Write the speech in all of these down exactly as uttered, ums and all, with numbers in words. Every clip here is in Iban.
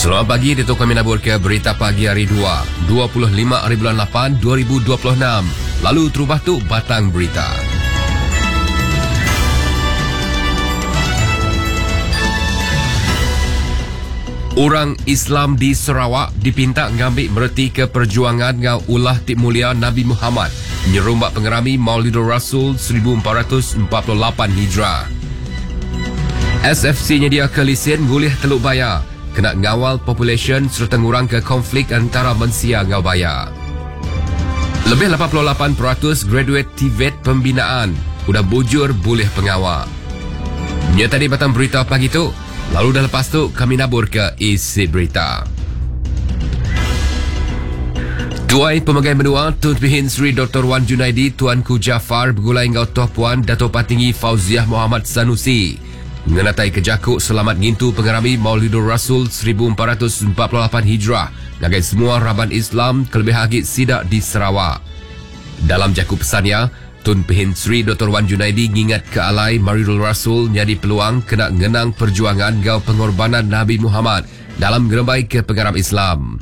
Selamat pagi, itu kami nabur ke berita pagi hari dua, dua puluh lima hari bulan lapan, dua ribu dua puluh enam. Lalu terubah tu batang berita. Orang Islam di Sarawak dipinta ngambil mereti ke perjuangan ngau ulah ti mulia Nabi Muhammad nyerumbak pengerami Maulidur Rasul seribu empat ratus empat puluh lapan Hijrah. S F C nyedia ke lisen ngulih Teluk Baya kena ngawal population serta ngurang ke konflik antara mensia ngau baya. Lebih lapan puluh lapan peratus graduate T V E T pembinaan udah bujur boleh pengawal. Nya tadi batang berita pagi tu. Lalu dah lepas tu kami nabur ke isi berita. Tuai Pemegai Menua Tun Pehin Sri Doktor Wan Junaidi Tuanku Jaafar bergulai ngau Toh Puan Dato' Patinggi Fauziah Muhammad Sanusi ngenatai kejakuk selamat ngintu pengerami Maulidur Rasul seribu empat ratus empat puluh lapan Hijrah ngagai semua raban Islam kelebih agi sidak di Sarawak. Dalam jakuk pesannya, Tun Pehin Sri Doktor Wan Junaidi ngingat ke alai Maulidur Rasul nyadi peluang kena ngenang perjuangan gau pengorbanan Nabi Muhammad dalam ngerembai ke pengarap Islam.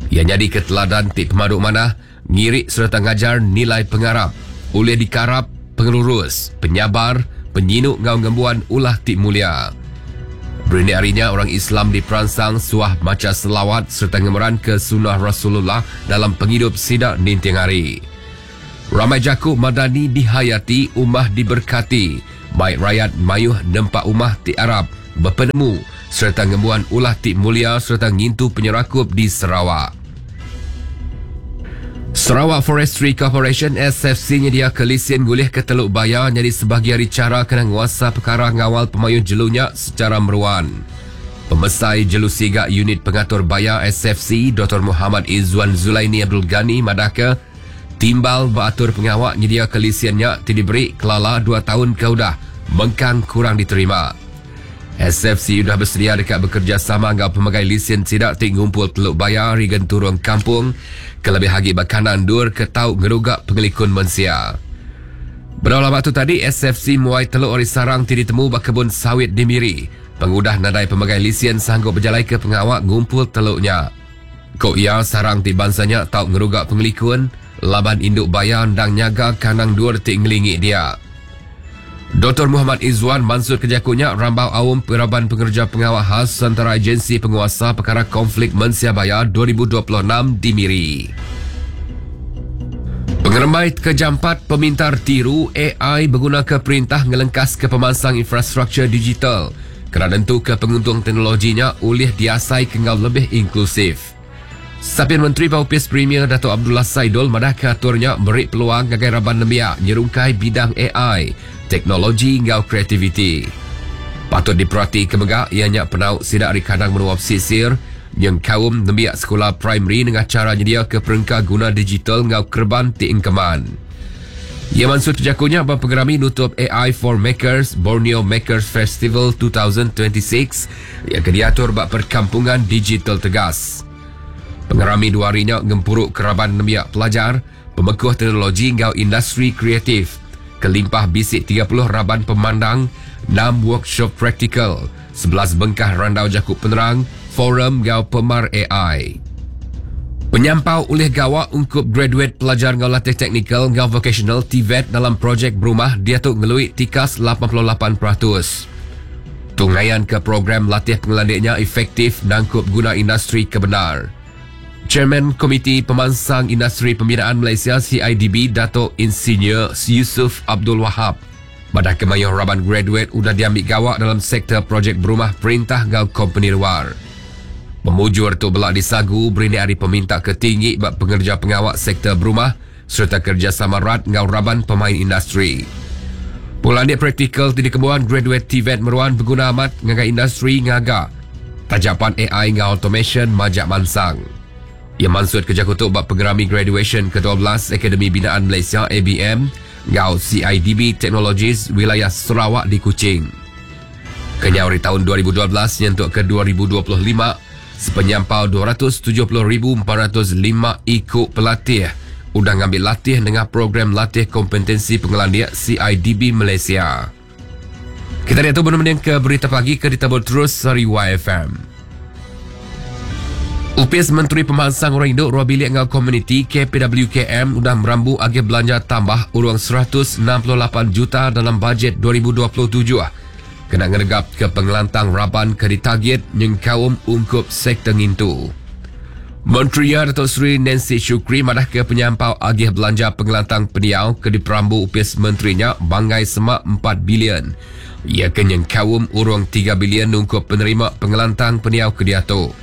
Ia nyadi ke teladan ti pemaduk manah, ngirik serta ngajar nilai pengarap, oleh dikarap pengelurus, penyabar, penyinuk ngau ngembuan ulah ti mulia. Berindik harinya orang Islam di Peransang suah maca selawat serta ngemeran ke sunnah Rasulullah dalam penghidup sidak ninting hari. Ramai jakuk madani dihayati, umah diberkati. Baik rakyat mayuh nempak umah ti Arab, berpenemu serta ngembuan ulah ti mulia serta ngintu penyerakup di Sarawak. Sarawak Forestry Corporation S F C nyedia ke lisen gulih ke Teluk Baya jadi sebahagian dari cara kena nguasa perkara ngawal pemayuh jelunya secara meruan. Pemesai Jelu Siga Unit Pengatur Baya S F C Doktor Muhammad Izzuan Zulaini Abdul Ghani madahke timbal beratur pengawak nyedia ke lisennya ti diberi kelala dua tahun ke udah mengkang kurang diterima. S F C sudah bersedia dekat bekerjasama dengan pemegai lisen sidak ti ngumpul Teluk Baya rigen turun kampung kelebih lagi bakanan dur ke tau ngerugak pengelikun mensia. Berapa tu tadi S F C muai teluk ori sarang ti ditemu bak kebun sawit di Miri. Pengudah nadai pemegai lisen sanggup berjalai ke pengawak ngumpul teluknya. Kok ia sarang ti bangsanya tau ngerugak pengelikun laban induk baya ndang nyaga kanang dur ti ngelingi dia. Doktor Muhammad Izzuan Mansur kejakunya rambau awam peraban pengerja pengawal khas antara agensi penguasa perkara konflik mensia baya dua ribu dua puluh enam di Miri. Pengerembai kejampat pemintar tiru A I berguna ke perintah ngelengkas ke pemansang infrastruktur digital kerana tentu ke penguntung teknologinya oleh diasai kenggal lebih inklusif. Sapien Menteri Baupis Premier Dato' Abdullah Saidol madah keaturnya beri peluang ngagai raban nembiak nyerungkai bidang A I, teknologi ngau kreativiti. Patut diperhati kemegak ianya penau sidak ari kadang menua pesisir yang kaum nembiak sekolah primary dengan cara nyedia ke perengka guna digital ngau kerban ti engkeman. Ia mansur terjakunya bab pengerami nutup A I for Makers Borneo Makers Festival dua ribu dua puluh enam yang diatur bab perkampungan digital tegas. Pengerami dua harinya ngempuruk keraban nembiak pelajar, pemekuh teknologi ngau industri kreatif. Kelimpah bisik tiga puluh raban pemandang, enam workshop praktikal, sebelas bengkah randau jakuk penerang, forum ngau pemar A I. Penyampau oleh gawak ungkup graduate pelajar ngau latih teknikal ngau vocational T V E T dalam projek berumah dia tu ngeluit tikas lapan puluh lapan peratus. Tungaian ke program latih pengelandiknya efektif nangkup guna industri kebenar. Chairman Komiti Pemansang Industri Pembinaan Malaysia C I D B Dato' Insinyur Yusuf Abdul Wahab. Badah kemayuh raban graduate udah diambil gawak dalam sektor projek berumah perintah gau company luar. Pemujur tu belak disagu berindik hari peminta ketinggi bab pengerja pengawak sektor berumah serta kerjasama rat ngau raban pemain industri. Pulandik praktikal tidak kebuan graduate T V E T meruan berguna amat ngagai industri ngaga. Tajapan A I ngau automation majak mansang. Ia mansut kerja kutuk bab pengerami graduation ke dua belas Akademi Binaan Malaysia A B M ngau C I D B Technologies wilayah Sarawak di Kuching. Kenyau dari tahun dua ribu dua belas nyentuk ke dua ribu dua puluh lima sepenyampau dua ratus tujuh puluh ribu empat ratus lima ikut pelatih udah ngambil latih dengan program latih kompetensi pengelandian C I D B Malaysia. Kita lihat tu benar-benar ke berita pagi ke ditabur terus dari Y F M. Upis Menteri Pemansang Orang Induk Ruang Bilik ngau Komuniti K P W K M udah merambu agih belanja tambah urang seratus enam puluh lapan juta dalam bajet dua ribu dua puluh tujuh. Kena ngeregap ke pengelantang raban ke ditagit nyengkaum ungkup sektor ngintu. Menteri Datuk Seri Nancy Shukri madah ke penyampau agih belanja pengelantang peniau ke diperambu upis menterinya banggai semak empat bilion. Ia ke nyengkaum urang tiga bilion ungkup penerima pengelantang peniau ke diatu.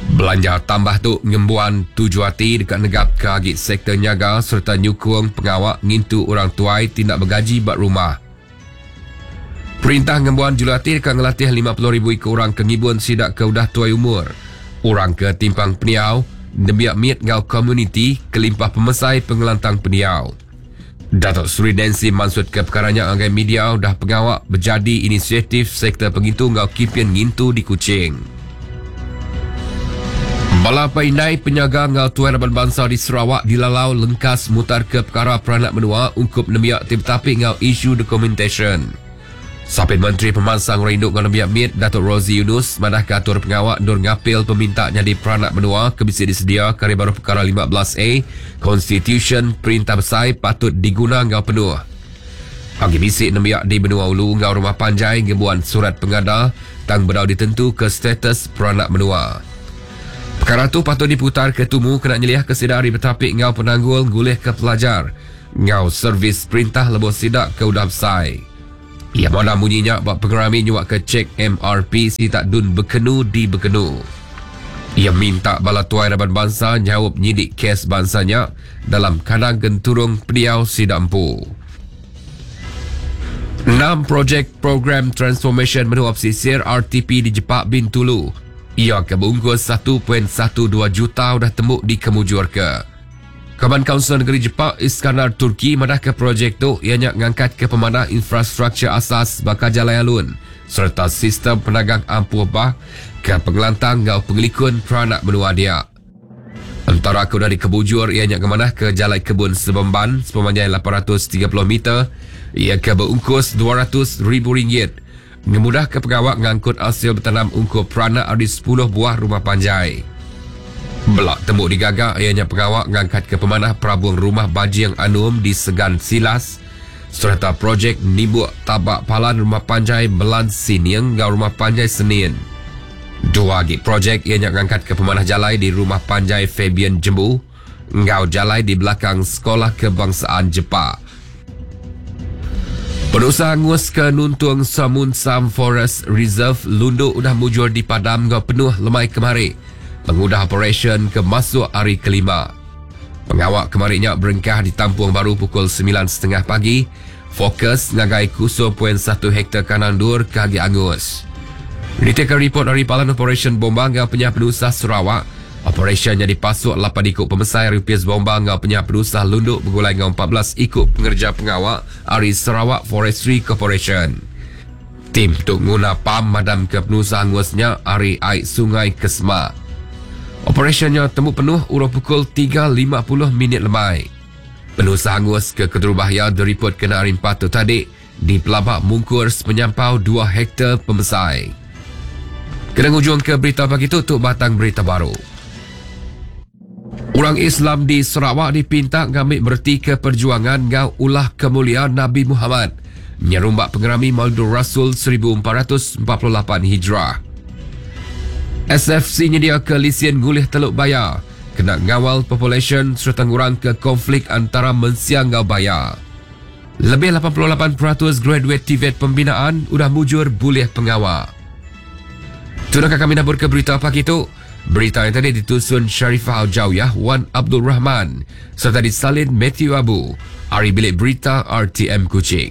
Belanja tambah tu ngembuan tuju hati dekat negap ke agi sektor nyaga serta nyukung pengawak ngintu orang tuai tindak bergaji bak rumah. Perintah ngembuan julati dekat ngelatih lima puluh ribu ikut orang ke ngibun sidak ke udah tuai umur. Orang ke timpang peniau, nembiak miet ngau komuniti kelimpah pemesai pengelantang peniau. Datuk Seri Nancy maksud ke perkaranya anggai media dah pengawak berjadi inisiatif sektor pengintu ngau kipian ngintu di Kuching. Bala Painai penyaga ngau tuan raban bangsa di Sarawak dilalau lengkas mutar ke perkara peranak menua ungkup nemiak tim tapi ngau isu documentation. Sapit Menteri Pemansang Rinduk ngau nemiak miet Datuk Rosie Yunus madah ke atur pengawak nur ngapil peminta nyadi peranak menua ke bisa disedia kari baru perkara lima belas A Constitution Perintah Besai patut diguna ngau penuh. Pagi bisik nemiak di benua ulu ngau rumah panjai ngebuan surat pengada tang bedau ditentu ke status peranak menua. Perkara tu patut diputar ke tumu kena nyeliah ke sedari betapik ngau penanggul ngulih ke pelajar ngau servis perintah lebuh sidak ke udah besai. Ia mana bunyinya bak pengerami nyuak ke cek M R P si tak dun berkenu di berkenu. Ia minta bala tuai raban bangsa nyawab nyidik kes bangsanya dalam kadang genturung peniau sidak empu. Enam projek program transformation menua pesisir R T P di Jepak Bintulu. Ia kebungkus satu perpuluhan satu dua juta udah temuk di Kemujur ke. Kaban Kaunsil Negeri Jepak Iskandar Turki madah ke projek tu ianya ngangkat ke pemanah infrastruktur asas bakal jalan alun serta sistem penagang ampuh bah ke pengelantang ngau pengelikun peranak menua dia. Antara ke udah dikebujur ianya kemanah ke jalan kebun Sebemban sepanjang lapan ratus tiga puluh meter ia ke berungkus dua ratus ribu ringgit. Ngemudah ke pengawak ngangkut hasil bertanam ungkup peranak ada sepuluh buah rumah panjai. Belak tembuk digagak ianya pengawak ngangkat ke pemanah perabung rumah Bajing Anum di Segan Silas serta projek nibuk tabak palan rumah panjai Melan Siniang ngau rumah panjai Senin. Dua lagi projek ianya ngangkat ke pemanah jalai di rumah panjai Fabian Jembu ngau jalai di belakang Sekolah Kebangsaan Jepak. Perusahaan angus ke Nuntung Samunsam Forest Reserve Lundu udah mujur di padam ngau penuh lemai kemari. Pengudah operation ke masuk hari kelima. Pengawak kemarinya berengkah ditampung baru pukul sembilan setengah pagi. Fokus ngagai kosong perpuluhan satu hektar kanan dur ke agi angus. Ditekan report dari Palan Operation Bomba ngau penyah penusah Sarawak. Operasinya dipasuk lapan ikut pemesai rupiah bomba ngau penyah penusah Lunduk bergulai ngau empat belas ikut pengerja pengawak dari Sarawak Forestry Corporation. Tim tuk nguna pam madam ke penusah angusnya ari air sungai Kesma. Operasinya temu penuh urut pukul tiga lima puluh minit lemai. Penusah angus ke Keterubahaya diripot kena hari empat tu tadi di Pelabak Mungkur sepenyampau dua hektar pemesai. Kena ngujung ke berita pagi tu tuk batang berita baru. Orang Islam di Sarawak dipinta ngambil berti ke perjuangan ngau ulah kemuliaan Nabi Muhammad. Nyerumbak pengerami Maulid Rasul seribu empat ratus empat puluh lapan Hijrah. S F C nyedia ke lisien gulih Teluk Bayar. Kena ngawal population serta ngurang ke konflik antara mensia ngau bayar. Lebih lapan puluh lapan peratus graduate T V E T pembinaan udah mujur bulih pengawal. Sudah kami nabur ke berita pagi tu. Berita yang tadi ditusun Sharifah Al-Jawiyah Wan Abdul Rahman serta disalin Matthew Abu. Ari Bilik Berita R T M Kuching.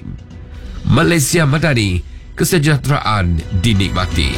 Malaysia Madani, kesejahteraan dinikmati.